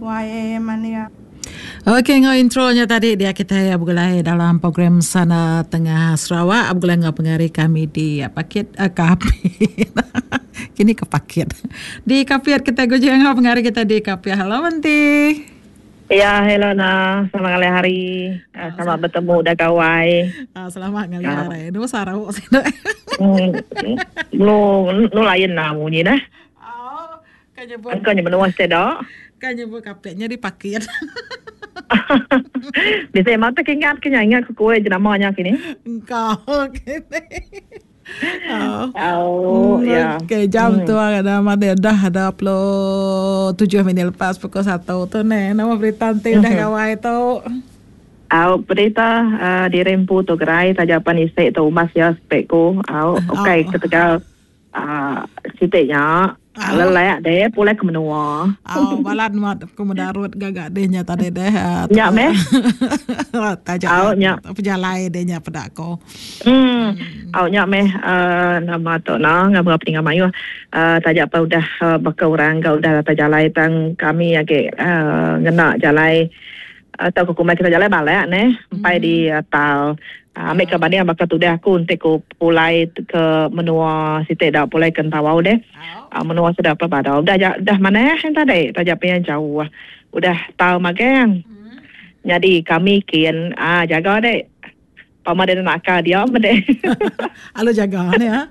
Wai mania. Ok enggau intro nya tadi dia kitai begulai dalam program Sana Tengah Sarawak begulai enggau pengari kami di Pakit eh, Kapit. Kini ke Pakit. Di Kapit kitai guji enggau pengari kita di Kapit. Hello Menti. Ya, hello na. Selamat ngalih hari. Ah, selamat bertemu dah gawai. Ah, selamat ngalih ah. hari. Dua sarau sini. Hmm. Nu nu lain lah bunyi dah. Oh, Ka nyebut. Engka nya menua sida. Ka nyebut kapit nya dipakit. Bisi mata ke ingat ke nya ingat ke kue jenama nya kini. Engka kini. Oh, oh hmm, ya. Okey, jam hmm. tu ada mati dah ada 27 minit lepas pukul 1 tu ne. Nama berita enti udah hmm. gawai tu. Au berita uh, diri empu tu gerai taja pan isi tu umas ya spek ku. Au okey ketegal Uh, siti nya uh. lelak deh pulai ke menua. Oh, balat mat ku medarut gaga deh nya tadi deh. Uh, nya meh. Taja oh, nya pejalai deh nya peda ko. Hmm. hmm. Oh, nya meh uh, nama tu na ngab ngab tinggal mayuh. Uh, taja pa udah uh, baka orang ga udah datai jalai tang kami agi uh, ngena jalai atau ke kumbai kita jalai balak neh empai hmm. di tal ambil ke banding baka tudah aku enti ku pulai ke menua siti da pulai ke Entawau deh menua sida pa badau dah dah manah yang tadi taja pia jauh udah tau magang hmm. jadi kami kin ah jaga dek pama dia nak akal dia meh dek alu jaga ne ha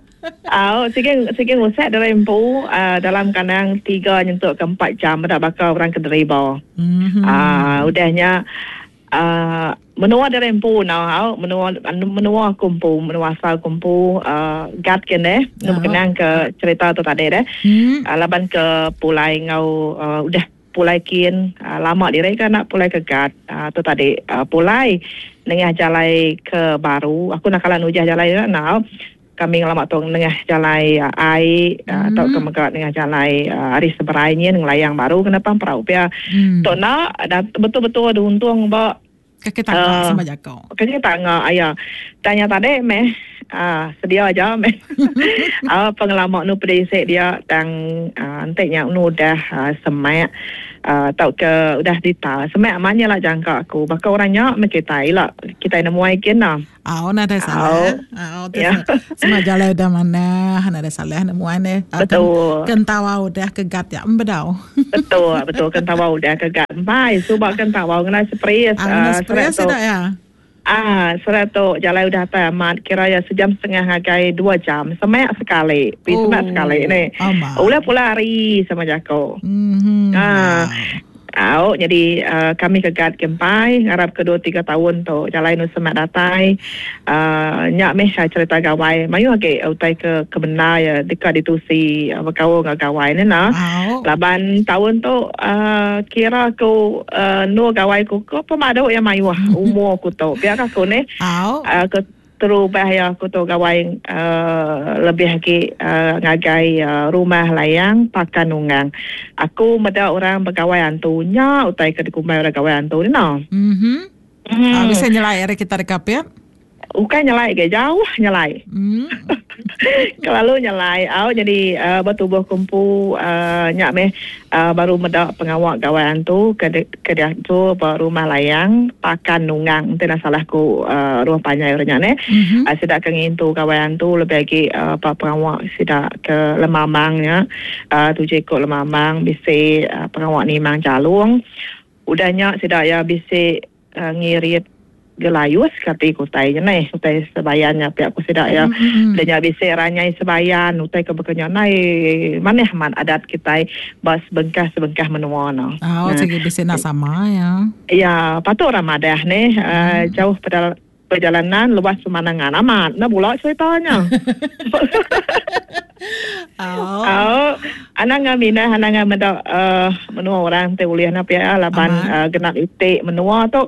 Au, sige sige ngusak diri empu uh, dalam kandang 3 nyentuk ke 4 jam meda baka orang ke deriba. Mm-hmm. Uh, udah nya uh, menua diri empu nau au menua menua aku empu menua asal aku empu uh, gat ke neh nu berkenang ke cerita tu tadi deh. Mm. Uh, laban ke pulai ngau uh, udah Pulai kin, lama diri ka enda pulai ke Gat. Tu tadi pulai nengah jalai ke baru. Aku enda kala nujah jalai nya enggau. Kami ngelama tu nengah jalai ai tauka mega nengah jalai ari seberai nyin ngelayang baru kena pang perau pia. Tu enda betul-betul diuntung ba Kaki tangga uh, sama jako. Kaki tangga aya. Tanya tadi meh uh, sedia aja meh. uh, pengelama nu pedisik dia tang uh, enti nya nu udah uh, semak uh, tauka udah dita. Semak amat nya lah jangka aku. Baka orang nya meh kitai ila. Kitai nemuai kin lah. Au nadai salah. Au ya. Semak jalai udah manah, nadai salah nemuai ne. Betul. Kentawa udah kegat ya embedau. Betul, betul kan tawau udah ke gak empai. Suba kan tawau ngena sepris. Ah, ngena sepris tu. ya. Ah, serat tu jalai udah atai amat kira ya sejam setengah ngagai dua jam. Semak sekali. Pi oh, semak sekali ni. Ulah pula hari sama jako. Mm-hmm. Ah. Au, jadi uh, kami ke Gat ke empai ngarap ke 2 3 tahun tu jalai nu semak datai. Uh, nya meh cerita gawai. Mayuh agi utai ke ke bendar ya deka ditusi uh, bekaul enggau gawai ne nah. Laban taun tu uh, kira aku uh, nu gawai ku ke pemadu ya mayuh umur ku tu. Pia ka aku neh. Uh, ke Terubah iya aku tu gawai lebih agi ngagai rumah layang Pakan Nunggang. Aku meda orang begawai antu nya utai ke dikumbai orang gawai antu ni no. Mhm. Mm. Bisi nyelai ari kita deka pia? Ukai nyelai ge jauh nyelai. Mm. Kelalu nyelai au jadi uh, betubuh kumpu uh, nya meh uh, baru meda pengawa gawai antu ke ke diatur ba rumah layang Pakan Nunggang enti enda salah ku uh, rumah panjai orang nya neh. Mm-hmm. Uh, sida ke ngintu gawai antu lebih agi uh, ba pengawa sida ke lemambang nya uh, tuju iku lemambang bisi uh, pengawa nimang jalung. Udah nya sida iya bisi ngirit gelayus kati ku utai nya neh utai sebayan nya pia ku sida iya udah nya bisi ranyai sebayan utai ke baka nya nai manah amat adat kitai ba sebengkah sebengkah menua ne. Oh sigi bisi enda sama ya. Ya patut orang madah neh jauh peda Perjalanan luas pemandangan amat enda bula cerita nya. Oh. Oh, anang ngan minah anang ngan meda uh, menua orang ti ulih na pia laban uh, genap iti menua tu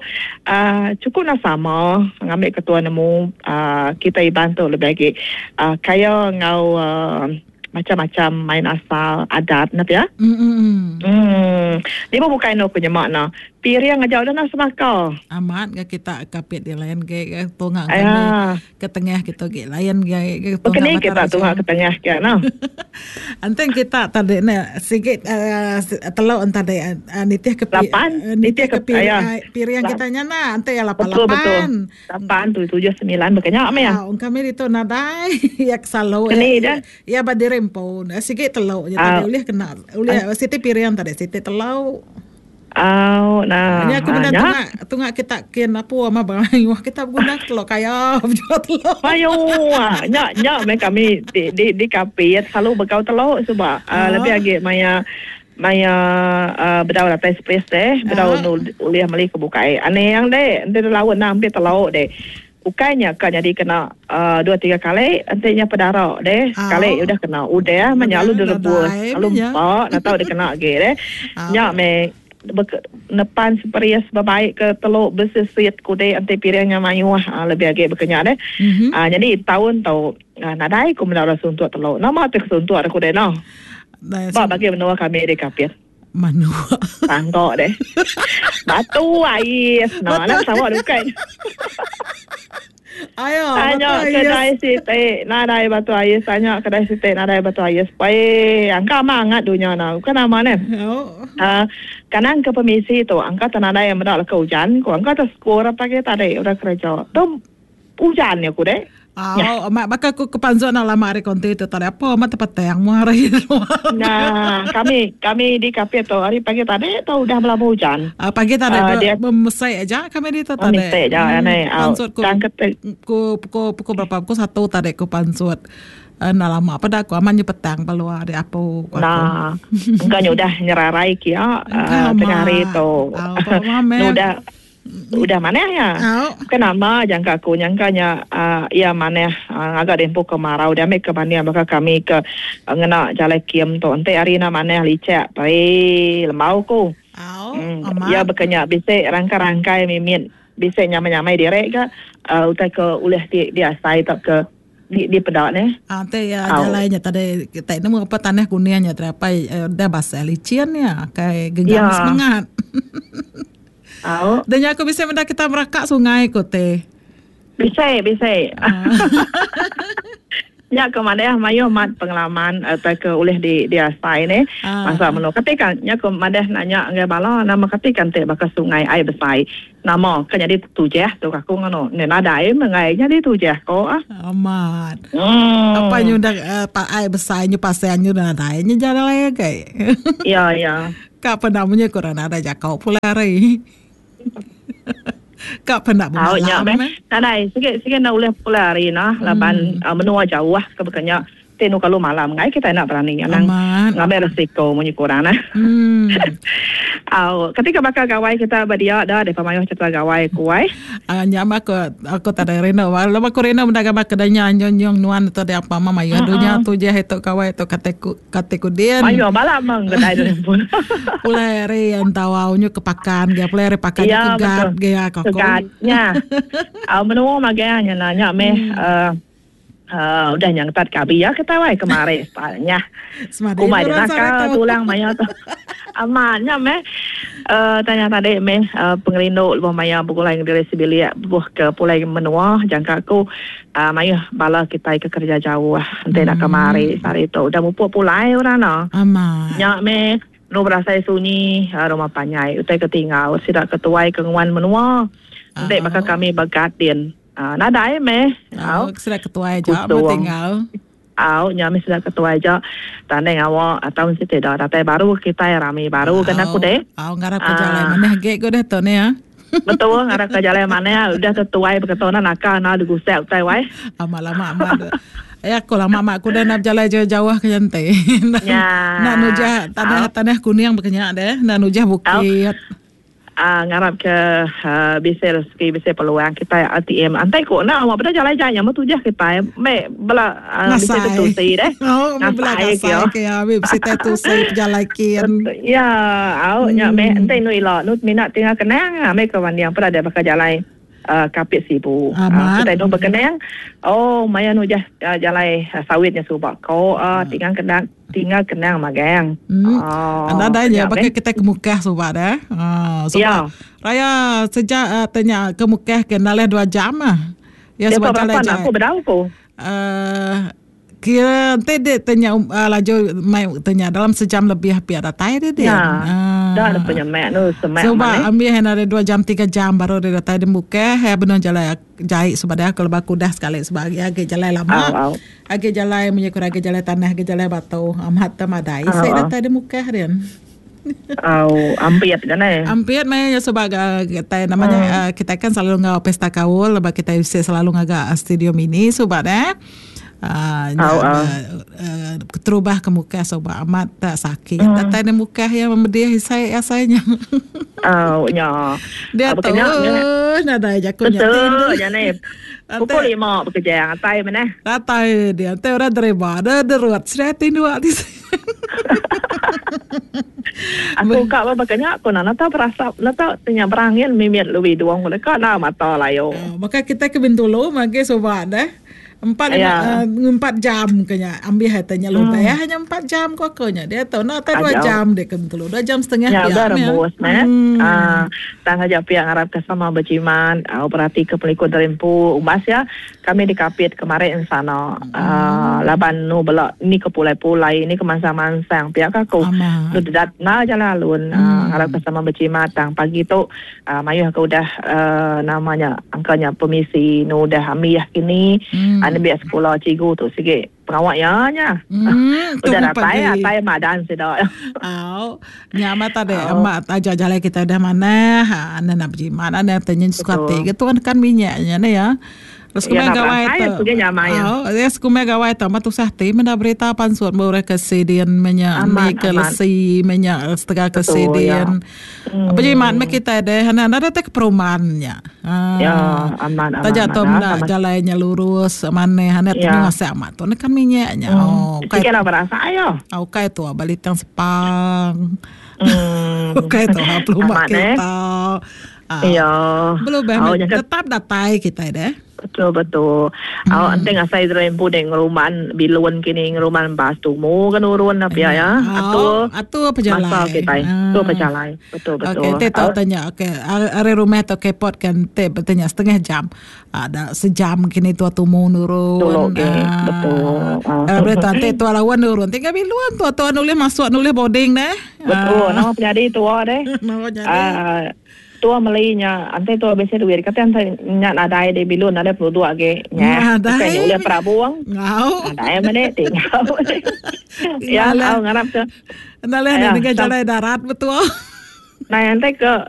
uh, cukup na sama ngambi ketua nemu uh, kita Iban tu lebih agi uh, kaya enggau uh, macam-macam main asal adat na pia. Mm. Hmm. Ni pun bukai no ku nyema na. Piring aja udah nah sebaka. Amat ga kita kapit di lain ge ga tunga kami ke tengah kitu ge lain ge ga tunga Bekeni kita tunga ke tengah ke no. Enti kita tadi ne sigi telo tadi nitih ke lapan nitih ke piring kita nya nah enti iya lapan lapan. Lapan tu tujuh semilan baka nya meh. Au kami ditu nadai iya ke selalu iya ba diri empu sigi telo nya tadi ulih kena ulih siti piring tadi siti telo. Au nah. Nya aku meda tunga tunga kita kin apu ama mayuh kita beguna ke telok kaya bejual telok. Mayuh nya nya meh kami di di di Kapit selalu begau telok suba uh, lebih agi maya maya uh, bedau datai space deh bedau uh. ulih meli ke bukai. Anang deh enti laut nah ampit telok deh. Ukai nya ka nyadi kena dua tiga kali enti nya pedara deh sekali udah kena udah meh nya lalu direbus lalu empa enda tau dikena agi deh. Nya meh nepan seperis bebaik ke telu besisit kudi enti piring nya mayuh lebih agi baka nya deh. Nyadi taun tu nadai ku meda orang suntuk telu. Nama ti kesuntuk deh kudi noh. Ba bagi menua kami di Kapit. Manuk. Tangga deh. Batu ais. Nah, nak sama dukai. Ayo, tanya kedai siti nadai batu ais, tanya kedai siti nadai batu ais. Pai, angka amat angat dunya na. Bukan nama ne. Oh. Kanang ke pemisi tu angka tak nadai meda leka ujan ko. Angka tak score pagi tadi udah kerja. Tu Ujan nya ku deh. Au, amat baka ku ke panzuk nak lama hari konti tu tadi apa amat tepetang mu hari tu. Nah, kami kami di Kapit tu hari pagi tadi tu udah belama ujan. Uh, pagi tadi uh, dia memesai aja kami di tu tadi. Memesai aja hmm, ni. Pansut ku, ku pukul pukul berapa? Pukul satu tadi ku pansut. Uh, nah lama pada aku aman petang keluar di apu. Nah, engkau udah nyerarai kia uh, tengah hari tu. Udah Udah manah iya. Bukan nama jangka aku nyangka nya uh, iya manah uh, ngaga dempu kemarau dia ambil ke banding baka kami ke uh, ngena jalai kim tu enti hari na manah licak pai lembau ku. Hmm, iya bekenya bisi rangkai-rangkai mimit bisi nyamai-nyamai diri ga uh, utai ke ulih di diasai tauka di di peda neh. Ah ti ya jalai nya tadi kita nemu apa tanah kuning nya tadi apa dah basah licin ya kai genggam ya. semangat. Au. Dan aku bisa meda kita meraka sungai ko te. Bisa, bisa. Ah. Nya ke madah mayuh mat pengalaman atau ke ulih di diasai ne. Ah. Masa menu ketika nya ke madah nanya ngagai bala nama ketika ente baka sungai ai besai. Nama ke nyadi tujah tu aku ngono. Ne nadai mengai nyadi tujah ko ah. Amat. Hmm. Apa nyu dah uh, pak ai besai nyu pasal nyu nadai nyu jalai agai. Ya ya. Ka penda munyi kurang nadai jakau pulai hari. Ka penda bemalam. Nya meh. Nadai sigi sigi enda ulih pulai hari nah laban hmm. uh, menua jauh ke bekenya. Ti nu kalu malam ngai kitai enda berani anang ngambil risiko munyi ku orang nah. Hmm. Au ketika baka gawai kita ba dia da depa mayuh cerita gawai ku ai. Uh, nya mah aku aku tak ada rindu. Lalu aku rindu meda gambar kedanya nyong nuan tu dia apa mah mayuh dunya tu je itu gawai tu kate ku kate ku din. Mayuh bala meng kedai tu pun. Pulai hari entawau nyu ke pakan ge pulai hari pakan ya, ke gad ge aku. Ke gad nya. Au menua magang nya nya meh hmm. uh, Uh, udah nya ngetat kabi ya kita wai kemari style nya. Kumai dia nakal tulang maya tu. Amat nya meh. Uh, tanya tadi meh uh, pengerindu lebuh maya begulai dengan diri sebilik buh ke pulai menua jangka aku uh, mayuh bala kita ke kerja jauh enti nak kemari sehari tu udah mupuk pulai orang no. Amat. Nya meh nu berasai sunyi uh, rumah panjai utai ke tinggal sida ke tuai ke nguan menua. Enti baka kami begadin Uh, nadai meh. Au, sida ketuai aja meh tinggal. Au, nya meh sida ketuai aja. Tanding awak atau siti dah datai baru kitai rami baru kena aku deh. Au, ngarap ke jalai manah agi ku deh tu ni ya. Betul, ngarap ke jalai manah udah tetuai beketu na naka na digusak utai wai. Amat lama amat. Eh aku lama amat aku dah nak berjalai jauh-jauh ke nyantai. Ya. Nak nujah tanah tanah kuning bekenya deh, nak nujah bukit. Uh, ngarap ke uh, bisi rezeki bisi peluang kitai RTM antai ku enda awak beda jalai jai nya tujah kitai me bela uh, bisi tetusi deh oh bela ngasai ke ya bisi tetusi pejalai kin ya au nya me entai nu ila nu minat tinggal kenang ame ke banding peda dia bakal jalai. Kapit Sibu. Kitai enu bekenang oh maya nujah jalai sawit nya suba ko tinggal kenang tinggal kenang magang. Nadai nya baka kitai ke Mukah suba deh. Suba raya sejak te nya ke Mukah ke nalih dua jam ah. Ya suba jalai jai. Aku bedau ku. Kira enti dek te nya laju mai te nya dalam sejam lebih pia datai deh dia. Ya. Dah ada penyemek nu semek Suba ambil hen ada 2 jam 3 jam baru dia datai di Mukah ya benung jalai jai suba dia kalau baku dah sekali suba agi agi jalai lama. Au, au. Agi jalai munyi kurang agi jalai tanah agi jalai batu amat te madai sik datai di Mukah dia. Au ampit kan eh. Ampit meh nya suba ga kitai nama nya hmm. kitai kan selalu enggau pesta kaul lepas kitai bisi selalu ngaga studio mini suba deh. Uh, nya, au, au. Uh, keterubah ke muka suba amat tak sakit. Hmm. Datai ne muka ya memedih isai asai nya. Au nya. Dia tu nadai jaku nya. Betul nya ne. Pukul 5 bekerja atai meneh. Datai dia. Te orang terima. Ada derut. Sudah tinduk ti. Aku ka ba baka nya aku nak nata berasap nata tenya berangin mimit lebih duong deka na mata layo. Oh, baka kita ke Bintulu magi suba deh. Empat lima, uh, empat jam ke nya ambil hai tanya lebih hmm. hanya empat jam ko aku nya dia tu nak tak dua jam dia ke Bintulu dua jam setengah ya, udah rembus meh. Ah, tang aja pia ngarap ke sama berjimat, uh, berhati ke pelikun terimpu umbas ya. Kami di Kapit kemari ensana laban nu bela ni ke pulai-pulai ni ke mansang-mansang pia ka aku. Nu dedat enda jalai alun ngarap ke sama bejimat tang pagi tu mayuh ke udah nama nya angka nya pemisi nu udah ambih kini nembiak sekula cikgu tu sigi pengawa iya nya. Udah datai atai madan sida. Au. Nya amat tadi amat aja jalai kita udah manah anda nak bejimat anda tanya suka ati ke tuan kan minyak nya ne ya. Terus kumai gawai tu. Au, ya sekumai gawai tu amat tusah ti meda berita pansut ba orang ke sidin menya ni ke lesi menya setengah ke sidin. Bejimat meh kitai deh anda anda datai ke perumahan nya. Ya, amat amat. Taja tu menda jalai nya lurus manah anda tu nguasa amat tu nekan minyak nya. Oh, ukai. Sikit lah berasa ayo. Ukai tu balitang sepang. Ukai tu pelumba kereta. Ya. Belum oh, tetap datai kitai deh. Betul betul. Hmm. Awak enti ngasai rempu dek ngeruman bilun kini ngeruman bas tumu ke nurun apa ya ya. Atur atur pejalai. Masa kitai. Atur hmm. pejalai. Betul betul. Okey, te tau tanya. Okey, ari rumah tu kepot kan te bertanya setengah jam. Ada sejam kini tua tumu nurun. Betul, okay. Ah. Betul. Ah. Berita te tua lawan nurun. Tinggal bilun tua tua nulih masuk nulih boarding deh. Betul. Nama penyadi tua deh. Nama penyadi. Ah. Tua meli nya enti tua bisi duit kati enti nya nadai di bilun nadai penduduk agi nya bukai nya ulih perabung nadai meh tinggal ya au ngarap ke enda leh nengah jalai darat betul nai enti ke.